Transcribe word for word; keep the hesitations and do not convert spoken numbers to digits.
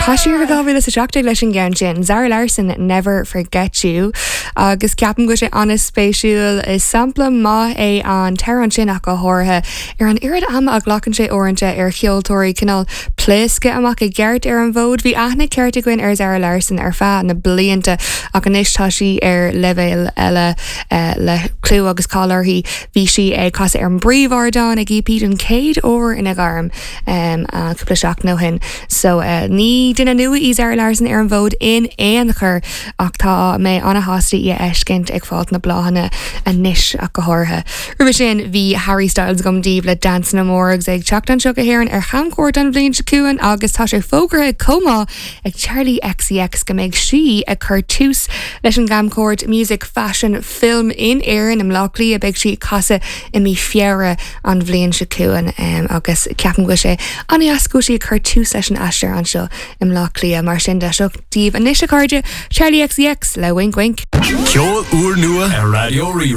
Tá siar dhá mhíle a seacht leis an gceann sin Zara Larsson never forget you agus ceapaim go bhfuil sé an-spéisiúil is sampla maith é an t-amhrán sin ach go háirithe ar an oiread ama a ghlacann sé uaireanta ar cheoltóirí cineál pléascadh amach i gceart ar an bhfód bhí aithne ceart againn ar Zara Larsson ar feadh na blianta ach anois tá sí ar leibhéal eile uh, le clú agus cáil uirthi bhí sí ag casadh ar an bpríomhardán ag EP den chéad uair ina gairm um, cúpla seachtain ó shin. So uh, ní duine nua í Zara Larsson ar an bhfód in aon chor ach tá mé an-sásta í a fheiscint ag fáil na bláthanna anois ach go háirithe. Roimhe sin bhí Harry Styles agam daoibh le Dancing Amore agus ag teacht anseo go hÉirinn ar chamchuairt an bhliain seo chugainn agus tá sé fógartha chomh maith ag Charli XCX go mbeidh sí ag cur tús leis an gcamchuairt Music Fashion Film in Éirinn i mBleá Cliath beidh sí ag casadh i mí Feabhra an bhliain seo chugainn um, agus ceapaim go sé an-deas go sí ag cur tús leis an aistear anseo i mBleá Cliath mar sin de seo daoibh anois a chairde Charli XCX le wink wink. Ceol úrnua ar Raidió Rí